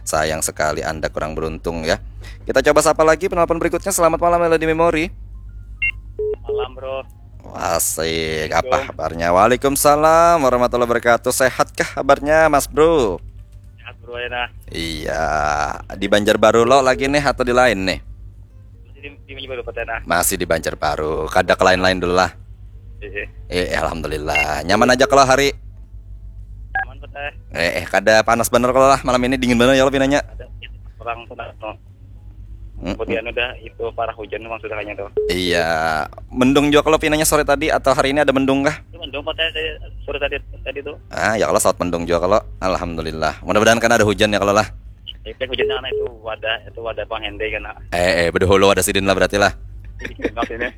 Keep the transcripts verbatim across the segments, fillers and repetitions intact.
Sayang sekali Anda kurang beruntung ya. Kita coba sapa lagi penelpon berikutnya. Selamat malam Melody Memory. Malam bro. Asik, apa kabarnya? Waalaikumsalam warahmatullahi wabarakatuh. Sehatkah kabarnya Mas Bro? Sehat bro ya nah. Iya, di Banjarbaru lo lagi nih atau di lain nih? Masih di, di Banjarbaru Pak nah. Masih di Banjarbaru, kada ke lain-lain dulu lah. Iya. Eh, alhamdulillah. Nyaman aja kalau hari. Aman Pak teh. Eh, eh, kada panas bener kalau lah malam ini, dingin bener ya lo pinanya. Ada orang tuh nah. No. Mm-mm. Kemudian udah itu parah hujan memang sudah kayaknya tuh. Iya, mendung juga kalau pinanya sore tadi atau hari ini ada mendung kah? Itu mendung Pak teh tadi, sore tadi tadi tuh. Ah, ya kalau saat mendung juga kalau. Alhamdulillah. Mudah-mudahan kan ada hujan ya kalau lah. Itu hujan karena itu wadah itu wadah Bang Hende kan. Nah. Eh, eh, bedahulu ada sidin lah berarti lah. Jadi kena ini.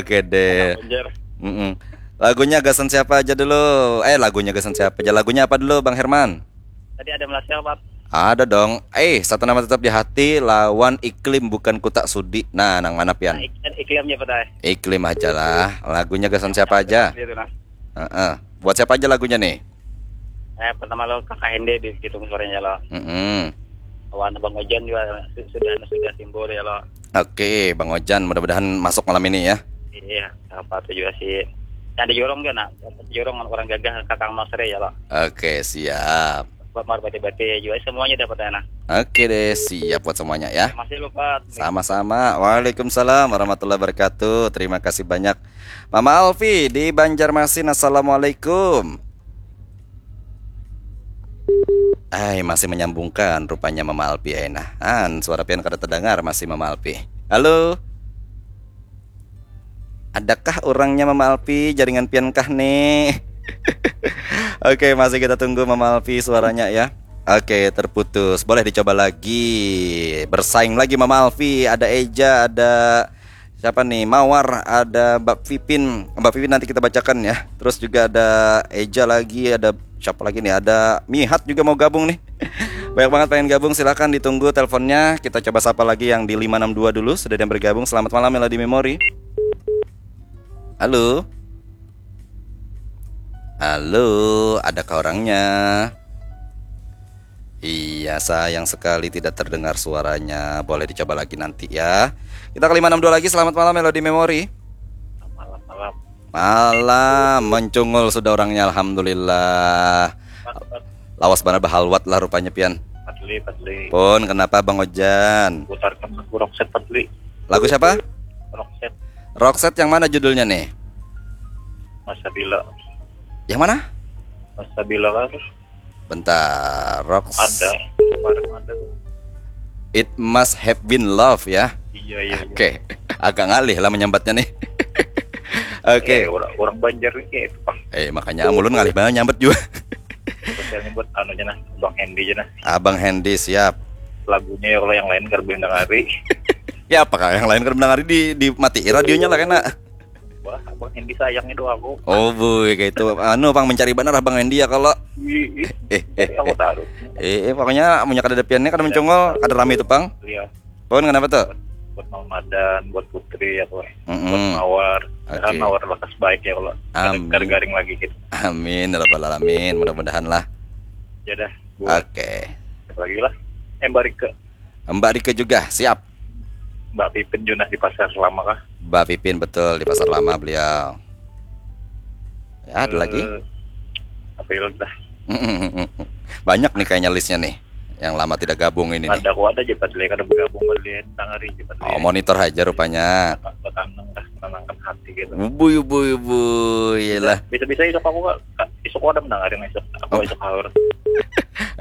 Oke deh. Banjar. Mm-mm. Lagunya gasan siapa aja dulu? Eh, lagunya gasan siapa aja? Lagunya apa dulu, Bang Herman? Tadi ada Melasial Pak. Ada dong. Eh, satu nama tetap di hati lawan iklim bukan kutak sudi. Nah, nang mana Nah, pian? ik- iklimnya Pak teh. Iklim aja lah. Lagunya gasan siapa aja? Dia tuh nah. Heeh. Buat siapa aja lagunya nih? Eh pertama lo kakak Hende di gitu suaranya lo. Mm-mm. Kawan Bang Ojan juga su- sudah sudah timbul ya lo. Oke, Bang Ojan, mudah-mudahan masuk malam ini ya. Iya, apa tuh juga sih. Yang di Jorong kan nah. Jorong orang gagah kakang Masre ya lo. Oke, siap. Buat mar bati-bati juga semuanya dapat enak. Oke deh, siap buat semuanya ya. Masih lupa. Sama-sama. Waalaikumsalam warahmatullahi wabarakatuh. Terima kasih banyak. Mama Alfi di Banjarmasin. Assalamualaikum. Ay, masih menyambungkan rupanya Mama Alfi, ay nah. An, suara pian kada terdengar masih Mama Alfi. Halo. Adakah orangnya Mama Alfi, jaringan pian kah nih? Oke, masih kita tunggu Mama Alfi suaranya ya. Oke, terputus. Boleh dicoba lagi. Bersaing lagi Mama Alfi. Ada Eja, ada siapa nih? Mawar, ada Mbak Pipin. Mbak Pipin nanti kita bacakan ya. Terus juga ada Eja lagi, ada siapa lagi nih? Ada Mihat juga mau gabung nih. Banyak banget pengen gabung, silakan ditunggu teleponnya. Kita coba sapa lagi yang di lima enam dua dulu. Sudah ada yang bergabung. Selamat malam Melody Memory. Halo. Halo, adakah orangnya? Iya, sayang sekali tidak terdengar suaranya. Boleh dicoba lagi nanti ya. Kita ke lima enam dua lagi. Selamat malam Melody Memory. Malam-malam. Malam, mencungul sudah orangnya, alhamdulillah. Lawas banar bahalwat lah rupanya pian. Padli, Padli. Pun kenapa Bang Ojan? Putarkan lagu Roxette Padli. Lagu siapa? Roxette Roxette yang mana judulnya nih? Masa Bila. Yang mana? Masa Bila kan Bentar, Rox. Ada. Kemarin ada tuh. It must have been love ya. Iya, iya, iya. Oke, agak ngalih lah menyambatnya nih. Oke. Eh, orang, orang Banjar nih kayak itu, Pak. Eh, makanya amulun ngalih banget nyambat juga. Spesialnya buat anu aja nah, Bang Hendy aja nah. Abang Hendy siap. Lagunya ya kalau yang lain kada boleh dengari. Ya apakah yang lain kada dengari di di mati radionya lah kena. Wah, Bang Hendy sayangnya doa aku. Oh boy, kayak itu. Anu, Bang mencari benar Abang Hendy ya kalau. Ih, ih, Eh, eh, aku taruh. Eh, eh, pokoknya punya kada ada piannya, kada mencongol, kada rame itu pang. Iya, Pun kenapa tuh? Buat Mamadan, buat Putri ya, buat, Mm-mm. Buat Mawar. Oke. Kan Mawar lekas baik ya kalau. Amin. Kada garing lagi gitu. Amin ya rabbal alamin, mudah-mudahan lah. Ya dah, buat Oke. Siapa lagi lah. Eh, Mbak Rika. Mbak Rika juga siap. Mbak Pipin Junah di Pasar Selama kah? Mbak Pipin betul di Pasar Lama beliau. Ya, ada lagi? Eh, Apa ya dah? Banyak nih kayaknya listnya nih. Yang lama tidak gabung ini nih. Ada kok ada aja Padli, kada bergabung Padli, tangari aja Padli. Oh, monitor aja rupanya. Bertanang dah, menenangkan hati gitu. Ubui, ubui, ubui, lah. Bisa-bisa isuk aku kak, isuk aku ada mendengarin isuk. Aku Oh. Isuk sahur.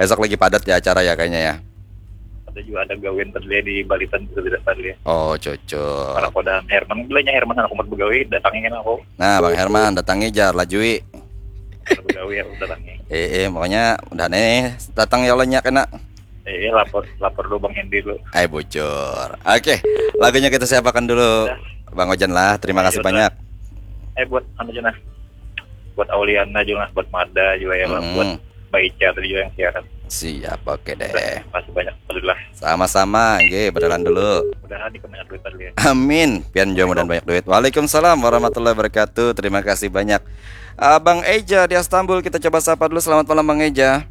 Esok lagi padat ya acara ya kayaknya ya. Ada juga ada gawian Padli di Balitan juga tidak Padli. Oh, cocok. Para kodahan Herman, bilanya Herman aku mau begawi, datangin aku. Nah, Bang Herman, datangi jar, lajui. Begawi aku datangi. Eh, eh, pokoknya udah nih, datang ya Allah nya kena. Eh, lapor lapor dulu Bang Hendy dulu. Ay bocor. Oke, lagunya kita siapakan dulu. Bang Ojan lah, terima kasih Iya, banyak. Eh buat anu aja nah. Buat Auliana juga, buat Mada juga ya, Mm-mm. Buat Mbak Ica tadi juga yang siaran. Siap, oke deh. Terima kasih banyak, alhamdulillah. Sama-sama, nggih, berjalan dulu. Mudahan di kemenangan duit tadi ya. Amin. Pian juga mudahan banyak duit. Waalaikumsalam warahmatullahi wabarakatuh. Terima kasih banyak. Abang Eja di Istanbul, kita coba sapa dulu. Selamat malam Bang Eja.